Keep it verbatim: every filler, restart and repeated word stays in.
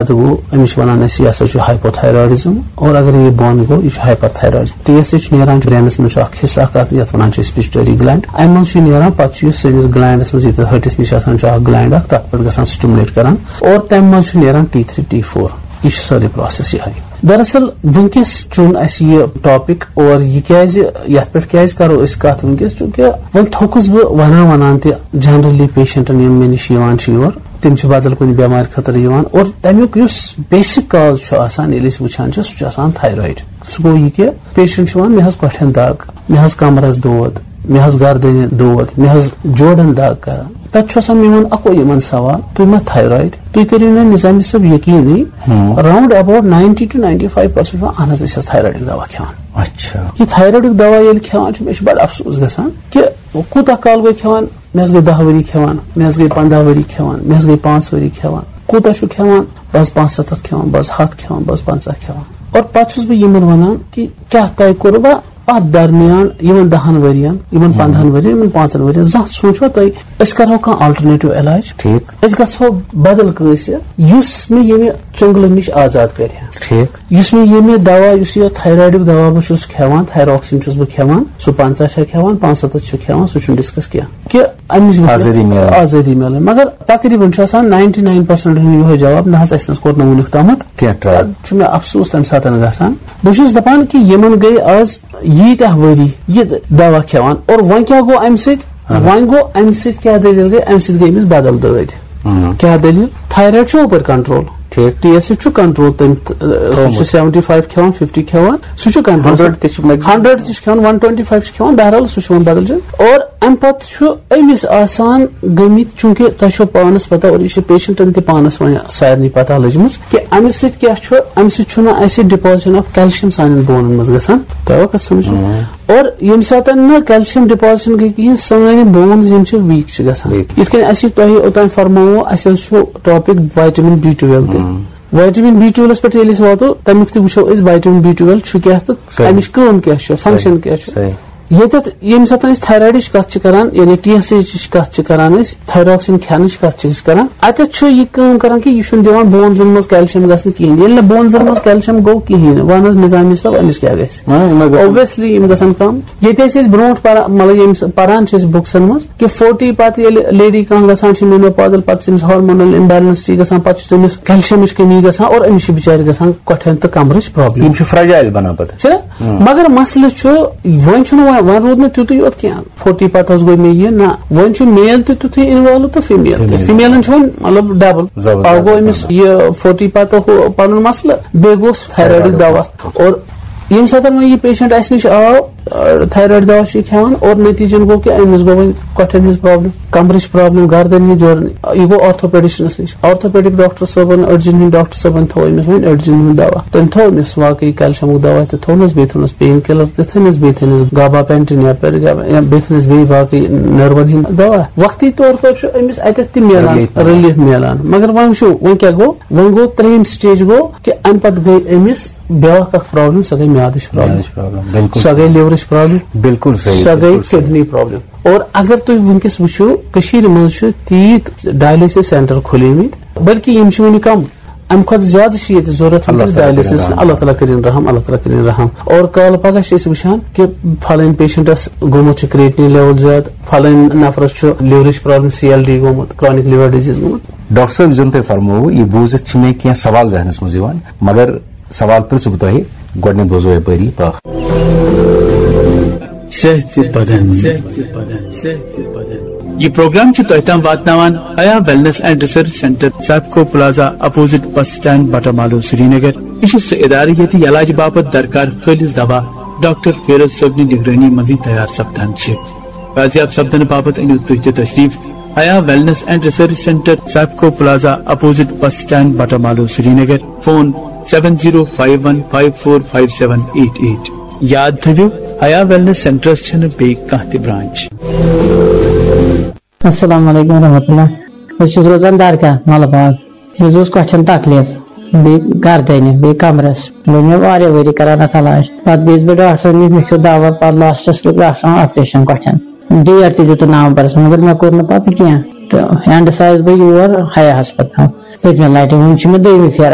پتہٕ گوٚو، أمِس چھِ وَنان أسۍ، یہِ ہسا چھُ hypothyroidism، اور اگر یہِ بۄن گوٚو، یہِ چھُ hyperthyroidism۔ T S H نیران چھُ brainس منٛز، چھُ اکھ حصہٕ اکھ اَتھ، یَتھ وَنان چھِ أسۍ pituitary gland۔ اَمہِ منٛز چھُ یہِ نیران، پتہٕ چھُ یہِ سٲنِس glandس منٛز، ییٚتٮ۪تھ ۂٹِس نِش آسان چھُ اکھ gland اکھ، تَتھ پٮ۪ٹھ گژھان stimulate کران، اور تَمہِ منٛز چھُ نیران T three T four۔ یہِ چھُ سٲرٕے process یِہوٚے۔ دراصل وٕنکیٚس چُن اَسہِ یہِ topic، اور یہِ کیازِ، یَتھ پٮ۪ٹھ کیازِ کرو أسۍ کَتھ وٕنکیٚس؟ چوٗنکہِ وۄنۍ تھوٚکُس بہٕ وَنان وَنان تہِ، generally patientن یِم مےٚ نِش یِوان چھِ یور، تِم چھِ بدل کُنہِ بٮ۪مارِ خٲطرٕ یِوان، اور تَمیُک یُس basic cause چھُ آسان، ییٚلہِ أسۍ وٕچھان چھِ، سُہ چھُ آسان thyroid۔ سُہ گوٚو یہِ کہِ patient چھُ وَنان، "مےٚ حظ کۄٹھٮ۪ن دگ، مےٚ حظ کمرس دود، مےٚ حظ گردنہِ دود، مےٚ حظ جوڑن دگ کران۔" تتہِ چھُ آسان میون اکوے یِمن سوال، "تُہۍ ما thyroid؟" تُہۍ کٔرِو مےٚ نظامی صٲب یقیٖنٕے، ہاں۔ Round about ninety to ninety five percent چھُ وَنان، "اہن حظ، أسۍ حظ thyroidٕکۍ دوا کھٮ۪وان۔" اچھا۔ یہِ thyroidٕکۍ دوا ییٚلہِ کھٮ۪وان چھِ، مےٚ چھُ بڑٕ افسوس گژھان کہِ کوٗتاہ کال گوٚو کھٮ۪وان؟ مےٚ حظ گٔے دَہ ؤری کھٮ۪وان، مےٚ حظ گٔے پنٛداہ ؤری کھٮ۪وان، مےٚ حظ گٔے پانٛژھ ؤری کھٮ۪وان۔ کوٗتاہ چھُ کھٮ۪وان؟ بس پانٛژھ ستتھ کھٮ۪وان، بس ہتھ کھٮ۪وان، بس پنٛژاہ کھٮ۪وان۔ اور پتہٕ چھُس بہٕ یِمن ونان کہِ کیٛاہ تۄہہِ کوٚروٕ اتھ درمیان یِمن دَہن ؤرین، یِمن ہم۔ پنٛدہن ؤرین، یِمن پانٛژن ؤرین زانٛہہ سوٗنٛچوا تۄہہِ، أسۍ کرہو کانٛہہ alternative علاج؟ ٹھیٖک۔ أسۍ گژھو بدل کٲنٛسہِ، یُس مےٚ ییٚمہِ چُنگلہٕ نِش آزاد کرِ ہا۔ ٹھیٖک۔ یُس مےٚ ییٚمہِ دوا، یُس یہِ thyroidُک دوا بہٕ چھُس کھٮ۪وان، thyroxine چھُس بہٕ کھٮ۪وان، سُہ پنٛژاہ چھا کھٮ۪وان، پانٛژھ ستتھ چھُ کھٮ۪وان، سُہ چھُنہٕ discuss کینٛہہ۔ کہِ اَمِچ وٕچھ آزٲدی میلان۔ آزٲدی میلان۔ مگر تقریباً چھُ آسان ninety nine percent یِہوٚے جواب، "نہ حظ، اَسہِ نہ حظ کوٚر نہٕ وٕنیُک تامَتھ۔" کینٛہہ trial۔ چھُ مےٚ افسوس تَمہِ ساتہٕ گژھان۔ بہٕ چھُس دَپان کہِ یِمَن گٔے آز ییٖتیٛاہ ؤری یہِ دوا کھٮ۪وان، اور وۄنۍ کیٛاہ گوٚو اَمہِ سۭتۍ؟ اہن حظ۔ وۄنۍ گوٚو اَمہِ سۭتۍ کیٛاہ دٔلیٖل گٔے؟ اَمہِ سۭتۍ گٔے أمِس بدل دٲدۍ۔ اہن۔ کیٛاہ دٔلیٖل؟ Thyroid چھُ اوپٲرۍ control۔ ٹھیٖک۔ T S H چھُ control، تٔمۍ تھوٚومُت۔ Seventy five کھٮ۪وان، fifty کھٮ۪وان، سُہ چھُ control۔ Hundred تہِ چھُ maximum۔ Hundred تہِ چھُ کھٮ۪وان، one twenty five چھُ کھٮ۪وان، بہرحال سُہ چھُ وۄنۍ بدل جایہِ۔ اور اَمہِ پتہٕ چھُ أمِس آسان گٔمٕتۍ، چوٗنٛکہِ تۄہہِ چھو پانَس پتہ اور یہِ چھِ patientن تہِ پانَس وۄنۍ سارنٕے پتہ لٔجمٕژ کہِ اَمہِ سۭتۍ کیٛاہ چھُ، اَمہِ سۭتۍ چھُنہٕ اَسہِ deposition of calcium سانٮ۪ن بونن منٛز گژھان۔ تۄہہِ آوا کَتھ سمجھ؟ اور ییٚمہِ ساتہٕ نہٕ calcium deposition گٔے کِہیٖنۍ، سٲنۍ bones یِم چھِ weak چھِ گژھان۔ Weak۔ یِتھ کٔنۍ اَسہِ تۄہہِ اوٚتام فرمووُ، اَسہِ حظ چھُ topic vitamin B twelve تہِ۔ Vitamin B twelveس پٮ۪ٹھ ییٚلہِ أسۍ واتو، تَمیُک تہِ وٕچھو أسۍ vitamin B twelve چھُ کیٛاہ تہٕ صحیح۔ اَمِچ کٲم کیٛاہ چھِ، function صحیح۔ کیٛاہ چھِ۔ صحیح۔ ییٚتٮ۪تھ ییٚمہِ ساتہٕ أسۍ thyroidٕچ کَتھ چھِ کَران، یعنی T S Hٕچ کَتھ چھِ کَران أسۍ، thyroxine کھٮ۪نٕچ کَتھ چھِ أسۍ کَران، اَتٮ۪تھ چھُ یہِ کٲم کَران کہِ یہِ چھُنہٕ دِوان bonesن منٛز calcium گژھنہٕ کِہیٖنۍ۔ ییٚلہِ نہٕ bonesن منٛز calcium گوٚو کِہیٖنۍ، وَن حظ نظامی صٲب، أمِس کیٛاہ گژھِ؟ وۄنۍ، وۄنۍ گژھِ۔ Obviously یِم گژھن کَم۔ ییٚتہِ ٲسۍ أسۍ برونٛٹھ پَران، مطلب ییٚمہِ س-، پَران چھِ أسۍ bookسن منٛز کہِ forty پَتہٕ ییٚلہِ lady کانٛہہ گژھان چھِ menopausal، پَتہٕ چھِ أمِس hormonal imbalance تہِ گژھان، پَتہٕ چھِ تٔمِس calciumٕچ کٔمی گژھان اور أمِس چھِ بِچارِ گژھان کۄٹھٮ۪ن تہٕ کمرٕچ problem۔ یِم چھِ fragile بَنان پَتہٕ۔ چھِ نا؟ مگر مسلہٕ چھُ، وۄنۍ چھُنہٕ وۄنۍ، وۄنۍ روٗد نہٕ تیُتُے یوت کینٛہہ۔ Forty پَتہٕ حظ گوٚو مےٚ یہِ، نہ، وۄنۍ چھُ male تہِ تیُتھُے involve تہٕ female تہِ۔ Female۔ Femaleن چھُ وۄنۍ مطلب double۔ زبردست۔ اَکھ گوٚو أمِس یہِ forty پَتہٕ ہُہ پَنُن مسلہٕ، بیٚیہِ گوٚوس thyroidُک thyroidُک دوا۔ مسلہٕ۔ اور ییٚمہِ ساتہٕ وۄنۍ یہِ patient اَسہِ نِش آو، thyroid دوا چھُ یہِ کھٮ۪وان اور نتیٖجن گوٚو کہِ أمِس گوٚو وۄنۍ کۄٹھٮ۪ن ہٕنٛز problem، کمرٕچ problem، گردن ہٕنٛز جوڑن، یہِ گوٚو orthopedicianس نِش۔ Orthopedic doctor صٲبن، أڈجن ہٕنٛدۍ doctor صٲبن تھوٚو أمِس وۄنۍ أڈجن ہُنٛد دوا۔ تٔمۍ تھوٚو أمِس واقعی calciumُک دوا تہِ تھوٚونس، بیٚیہِ تھوٚونس pain killer تہِ تھٲونس، بیٚیہِ تھٲونس gabapentin یا پرگابا-، یا بیٚیہِ تھٲونس بیٚیہِ باقٕے nerveن ہٕنٛدۍ دوا۔ وقتی طور پر چھُ أمِس اَتٮ۪تھ تہِ میلان relief۔ Relief میلان۔ مگر وۄنۍ وٕچھِو، وۄنۍ کیٛاہ گوٚو؟ وۄنۍ گوٚو ترٛیٚیِم stage گوٚو کہِ اَمہِ پتہٕ گٔے أمِس بیٛاکھ اکھ problem، سۄ گٔے میادٕچ problem۔ میادٕچ problem، بِلکُل۔ سۄ گٔے liverٕچ problem۔ بِلکُل صحیح، سۄ گٔے بِلکُل صحیح۔ Kidney problem۔ اور اگر تُہۍ وٕنکیٚس وٕچھِو، کٔشیٖرِ منٛز چھِ تیٖتۍ dialysis centre کھُلیمٕتۍ، بلکہِ یِم چھِ وٕنہِ کم، اَمہِ کھۄتہٕ زیادٕ چھِ ییٚتہِ ضوٚرتھ اللہ وٕنکیٚس تعالیٰ کٔرِن dialysis۔ رحم۔ اللہ تعالیٰ کٔرِن رحم، اللہ تعالیٰ کٔرِن رحم۔ اور کالہٕ پگاہ چھِ أسۍ وٕچھان کہِ فلٲنۍ patientس گوٚمُت چھُ creatinine level زیادٕ، فلٲنۍ نفرس چھُ liverٕچ problem، C L D گوٚمُت، chronic liver disease گوٚمُت۔ ڈاکٹر صٲب، یُس زن تۄہہِ فرمووُ، یہِ بوٗزِتھ چھِ مےٚ کینٛہہ سوال ذہنس منٛز یِوان، مگر سوال پرژھٕ بہٕ تۄہہِ، گۄڈٕنیتھ بوزو یپٲری پاکھ۔ صحت بدن۔ یہ پروگرام چھُ تۄہہِ تام واتناوان حیا Wellness and Research Centre، سیپکو plaza, opposite bus stand، Batamaloo, Srinagar. یہِ چھُ سُہ ادارٕ ییٚتہِ علاج باپتھ درکار خٲلص دوا ڈاکٹر فیروز صٲبنہِ نگرٲنی منٛزٕے تیار سپدان چھِ۔ بازیاب سپدنہٕ باپتھ أنِو تُہۍ تہِ تشریف حیا Wellness and Research Centre، سیپکو plaza, opposite bus stand، Batamaloo, Srinagar. Phone seven zero five one five four five seven eight eight۔ یاد تھٲوِو، حیا Wellness Centreس چھنہٕ بیٚیہِ کانٛہہ تہِ branch۔ السلام علیکم ورحمۃ اللہ۔ بہٕ چھُس روزان درگاہ ملہٕ باغ۔ مےٚ حظ اوس کۄٹھٮ۪ن تکلیف، بیٚیہِ گردنہِ، بیٚیہِ کمرس۔ گوٚو مےٚ واریاہ ؤری کران اتھ علاج۔ پتہٕ گٔیَس بہٕ ڈاکٹرن نِش، مےٚ کھیوٚو دوا، پتہٕ لاسٹس کوٚر ڈاکٹرن آپریشن کۄٹھٮ۪ن۔ ڈیٹ تہِ دیُتُن نومبرس، مگر مےٚ کوٚر نہٕ پتہٕ کینٛہہ۔ تہٕ اینڈس آیس بہٕ یور حیا ہسپتال۔ پٔتمہِ لٹہِ، وۄنۍ چھِ مےٚ دوٚیمہِ پھیرٕ